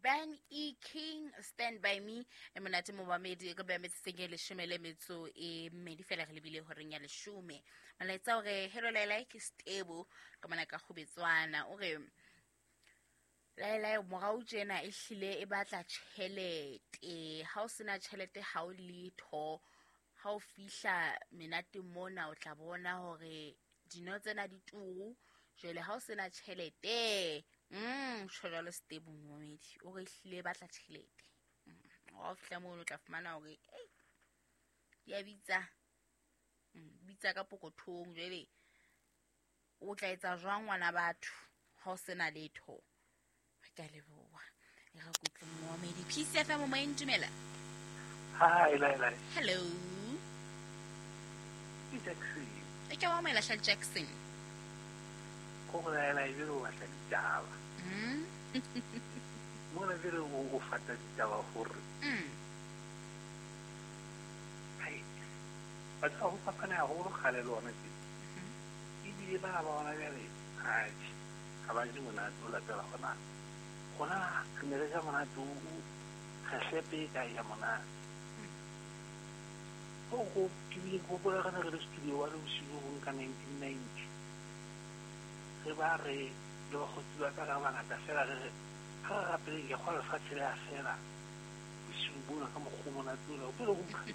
Ben E King, Stand By Me. E monate momamedi, re beha metsotsong e 12 fela re lebile horeng ya 10. Molaetsa o re hello Laila, ke Stebo ka mona ka Kgobetswana. O re Laila, morao tjena e hlile e batla tjhelete. Ha o sena tjhelete ha o letho. Ha o fihla menateng mona o tla bona hore dino tsena di turu. Jwale ha o sena tjhelete, tjho jwalo Stebo momamedi. O re hlile e batla tjhelete. Ha o fihla mono o tla fumana hore ei di a bitsa. Bitsa ka pokothong. Jwale o tla etsa jwang ngwana batho ha o sena letho? Re ka leboha. E re kutlwe momamedi. Peace FM moyeng, dumela. Hi, Laila. Hello. Ke Jackson. E ke wa moela hle Jackson. Ko go Laila e bile o batla ditaba. Mona bile o fata ditaba gore. Hai. Batho ba fapana haholo kgale le ona tje. Ebile bana ba bona bjale, atjhe, ha ba je monate o latela gona. Gona re ne re ja monate o re hlepe e kae ya monate. Go go ke bile ke gopola re ne re le studio wa le bosigo bo bong ka 1990. Re ba re le bakgotsi ba ka re bangata fela re re ha re rapeleng ke kgwa lefatshe le a fela bosiu bona ka mokgwa o monate ona. O pele go